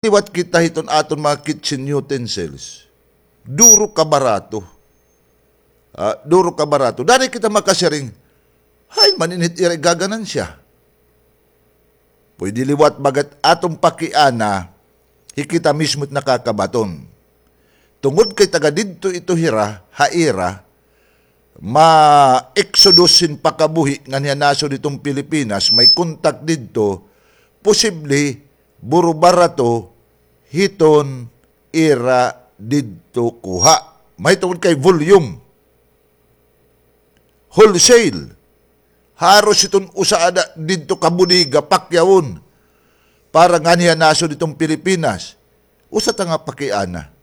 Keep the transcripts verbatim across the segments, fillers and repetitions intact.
liwat kita hiton aton mga kitchen utensils. Duro kabarato. Ah, duro kabarato. Danay kita makasiring, hain man ini it ira igaganansya? Pwede liwat baga it aton pakiana, hi kita mismo it nakakabaton. Tungod kay taga didto ito hira, ha ira, ma-exodus hin pakabuhi nganhi ha nasod hiton Pilipinas, may kontak didto, posible, burubarato hiton ira didto kuha. Mahitungod kay volume. Wholesale. Haros hiton usa ada didto ka bodega, pakyawon. Para nganhi ha nasod hiton Pilipinas. Usa ta nga pakiana.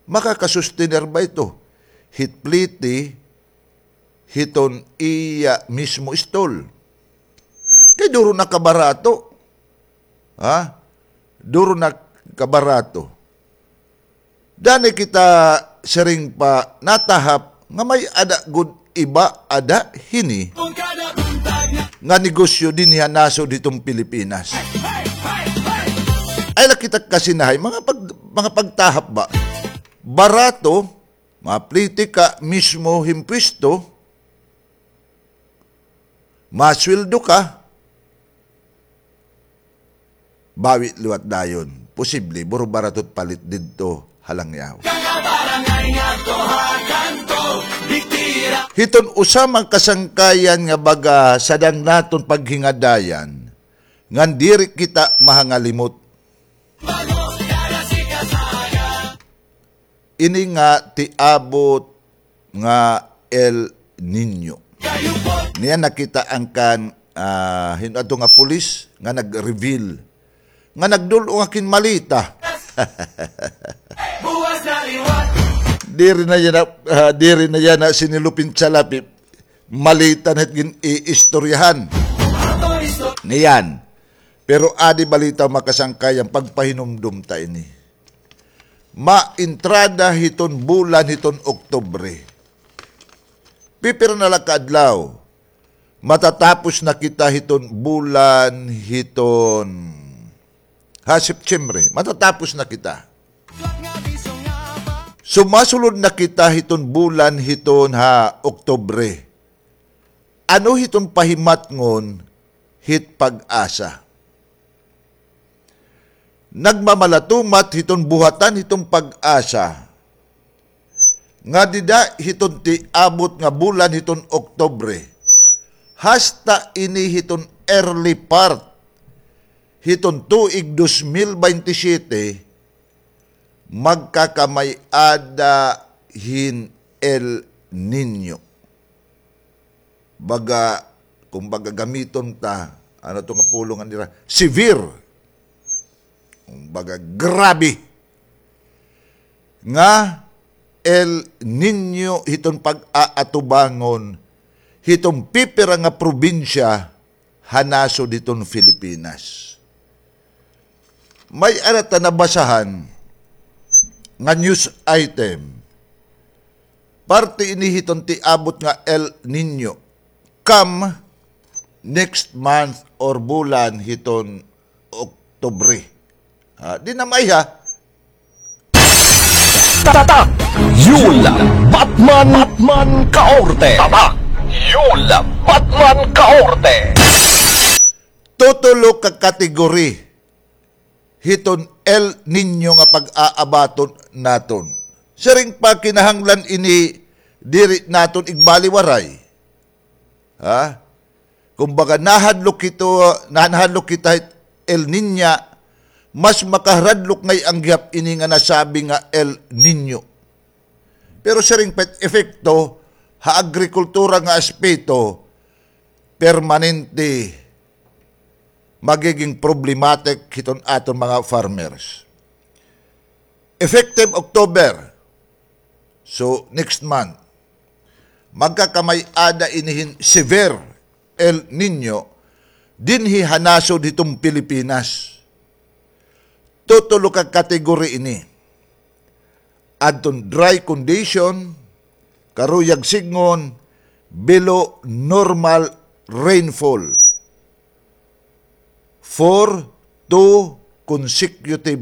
Makakasustener ba ito hit pliti hiton iya mismo stall? Kay duro na kabarato. Ha? Duro na kabarato. Danay kita siring pa natahap nga may-ada gud iba ada hini nga negosyo dinhi ha nasod hiton Pilipinas. Ay la kita kasinahay, mga pag-, mga pagtahap ba? Barato, mapliti ka mismo hin pwesto, masweldo ka, bawi liwat dayon. Posible, burubarato it palit didto ha langyaw. Hiton usa man kasangkayan nga baga sadang naton paghingadayan, ngan diri kita mahangalimot. Ini nga tiabot nga El Niño. Niyan nakita an kan, ah, hin-o adto nga pulis nga nag-reveal nga nagdul-ong ak hin malita. Diri na yana, ah, diri na yana sinilupin salapi. Malita na it gin-iistoryahan. Niyan. Pero adi balita makasangkayan, pagpahinumdom ta ini. Maentrada hiton bulan hiton Oktubre. Pipira na la ka adlaw. Matatapos na kita hiton bulan hiton, ha, Septiembre. Matatapos na kita. Sumasulod na kita hiton bulan hiton ha Oktubre. Ano hiton pahimatngon hit PAGASA? Nagmamalatumat hiton buhatan hiton PAGASA nga dida hiton tiabot nga bulan hiton Oktubre, hasta ini hiton early part hiton tuig dos mil baynte siyete, magkakamay-ada hin El Niño. Baga, kumbaga gamiton ta, ano to nga pulong nira, severe. Kumbaga, grabe nga El Niño hiton pag-aatubangon hiton pipira nga probinsya ha nasod hiton Filipinas. May-ada ta nabasahan nga news item. Parte ini hiton tiabot nga El Niño. Come next month or bulan hiton Oktubre. Ha, di na may ha. Tatak! Yul Batman, Batman Kaorte. Tatak! Yul Batman Kaorte. Tutulo ka category hiton El Niño nga pag-aabaton naton. Siring pa kinahanglan ini diri naton igbaliwaray. Ha? Kumbaga, nahadlok hito, nahadlok kita hit El Niña, mas makaradlok ngay-an gihap ini nga nasabi nga El Niño. Pero siring pa it epekto ha agrikultura nga aspeto, permanente magiging problematic hiton aton mga farmers. Effective October, so, next month, magkakamay-ada ini hin severe El Niño dinhi ha nasod hiton Pilipinas. Tutulo ka category ini. Adton dry condition, karuyag sidngon, below normal rainfall. Four to consecutive